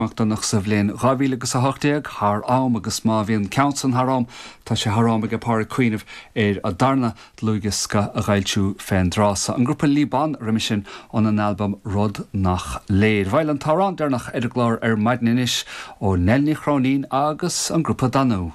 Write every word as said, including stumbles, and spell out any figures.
Donach sa bhliain dhá mhíle agus a hocht déag thar am agus má bhíonn ceann san thar am tá sé thar am aige Pádraig cuimhneamh ar a darna dlúthdhiosca a fhoilsiú fén dtráth so. An grúpa Liban roimhe sin óna n-albam Rud Nach Léir. Bhuel an t-amhrán deireanach ar an gclár ar maidin anois ó Nell Ní Chróinín agus an grúpa Danú.